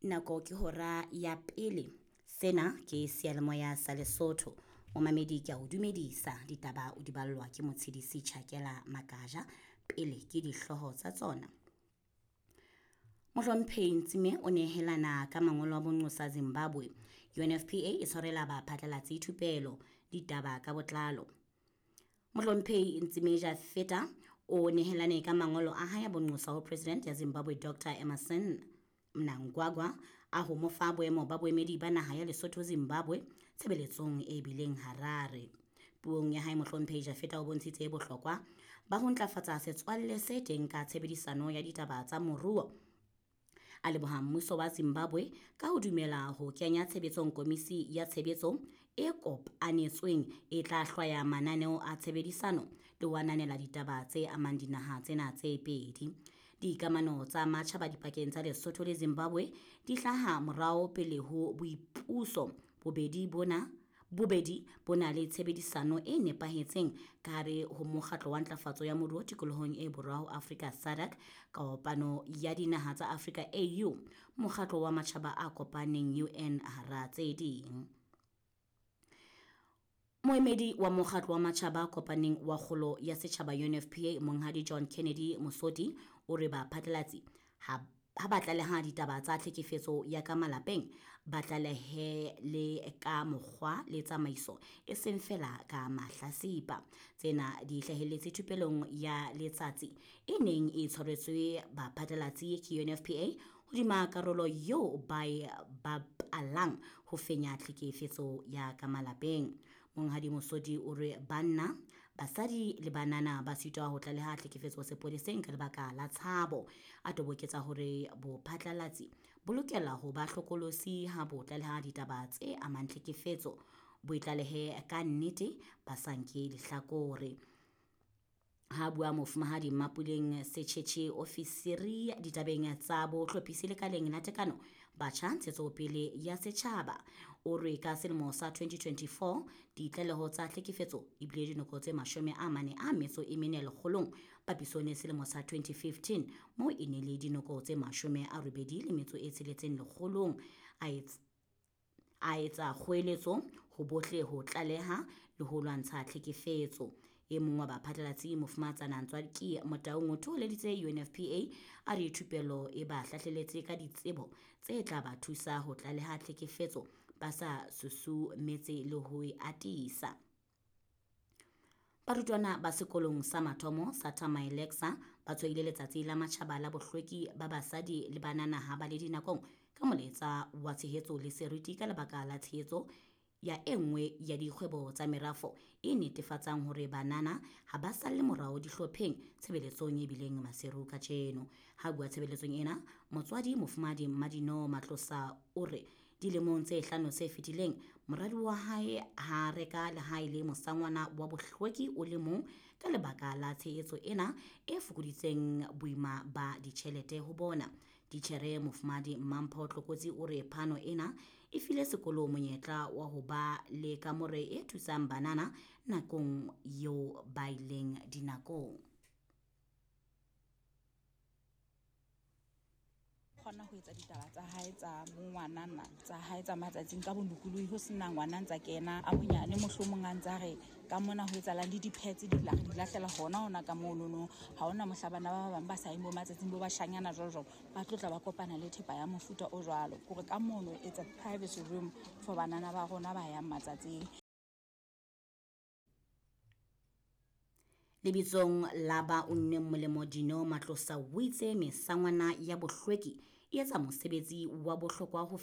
Nako ke hora ya pele. Sena ke seyalemoya sa Lesotho. Momamedi ke a o dumedisa. Ditaba o di ballwa ke Motshedisi Tjhakela Makaja. Pele ke dihlooho tsa tsona. Mohlomphehi Ntsime o nehelana ka mangolo a bonqosa Zimbabwe. UNFPA e tshwarela baphatlalatsi thupelo. Ditaba ka botlalo. Mohlomphehi Ntsime Jafeta o nehelane ka mangolo a hae a bonqosa ho President ya Zimbabwe Dr. Emmerson Mnangagwa a ho mo fa boemo ba boemedi ba naha ya Lesotho Zimbabwe tshebeletsong e bileng Harare. Puong ya hae Mohlomphehi Jafeta o bontshitse bohlokwa ba ho ntlafatsa setswalle se teng ka tshebedisano ya ditaba tsa moruo. A leboha mmuso wa Zimbabwe ka ho dumela ho kenya tshebetsong komisi ya tshebetso e kopanetsweng e tla hlwaya mananeo a tshebedisano le ho ananela ditaba tse amang dinaha tsena tse pedi. Dikamano tsa matjhaba dipakeng tsa Lesotho le Zimbabwe di hlaha morao pele ho boipuso. Bobedi bo na le tshebedisano e nepahetseng ka hare ho mokgatlo wa ntlafatso ya moruo tikolohong e borwa ho Afrika SADC, kopano ya dinaha tsa Afrika AU, mokgatlo wa matjhaba a kopaneng UN hara tse ding. Moemedi wa mokgatlo wa matjhaba a kopaneng wa kgolo ya setjhaba UNFPA Monghadi John Kennedy Mosoti o re baphatlalatsi ha ba tlaleha ditaba tsa tlhekefetso ya ka malapeng ba tlalehe le ka mokgwa le tsamaiso e seng fela ka mahlasipa. Tsena di hlahelletse thupelong ya letsatsi e neng e tshwaretswe baphatlalatsi ke UNFPA hodima karolo eo ba e bapalang ho fenya tlhekefetso ya ka malapeng. Monghadi Mosodi o re banna, basadi le banana ba sitwa ho tlaleha tlhekefetso sepoleseng ka lebaka la tshabo. A toboketsa hore bophatlalatsi bo lokela ho ba hlokolosi ha bo tlaleha ditaba tse amang tlhekefetso, bo itlalehe ka nnete ba sa nke lehlakore. Ha bua mofumahadi Mapuleng Secheche, ofisiri ditabeng tsa bohlophisi lekaleng la tekano batjha ntshetsopele ya setjhaba, o re ka selemo sa 2024 ditlaleho tsa tlhekefetso e bile dinoko tse 44 lekgolong papisong le selemo sa 2015 moo e ne le dinoko tse 86 lekgolong. A etsa kgoeletso ho bohle ho tlaleha le ho lwantsha tlhekefetso. E mong wa baphatlalatsi mofumahatsana Ntswaki Motaung o thoholeditse UNFPA a re thupelo e ba hlahleletse ka ditsebo tse tla ba thusa ho tlaleha tlhekefetso ba sa susumetse le ho e atisa. Barutwana ba sekolong sa mathomo sa Thamae Lexa ba tshwaile letsatsi la matjhaba la bohlweki ba basadi le banana ha ba le dinakong ka molaetsa wa tshehetso le seriti ka lebaka la tshehetso ya e nngwe ya dikgwebo tsa merafo e netefatsang hore banana ha ba salle morao dihlopheng tshebeletsong e bileng Maseru kajeno. Ha bua tshebeletsong ena, motswadi mofumahadi Mmadino Matlosa o re dilemong tse 5 tse fetileng moradi wa hae ha reka lehae le mosangwana wa bohlweki o le mong ka lebaka la tshehetso ena e fokoditseng boima ba ditjhelete ho bona. Titjhere mofumahadi Mampho Tlokotsi o re phano ena e file sekolo monyetla wa ho ba le kamore e thusang banana nakong eo ba ileng dinakong. Kgona ho etsa ditaba tsa hae tsa bongwanana tsa hae tsa matsatsing ka bolokolohi ho sena ngwana ntsa kena a monyane mohlomong a ntsa re ka mona ho etsahalang le di-pads di la re di lahlela hona hona ka monono. Ha hona mohla bana ba bang ba sa yeng bo matsatsing bo bashanyana jwalo jwalo ba tlo tla ba kopana le thepa ya mofuta o jwalo. Kore ka mono it's a privacy room for banana ba rona ba yang matsatsing. Lebitsong la ba unneng molemo Dino Matlosa o itse mesangwana ya bohlweki e etsa mosebetsi wa bohlokwa ho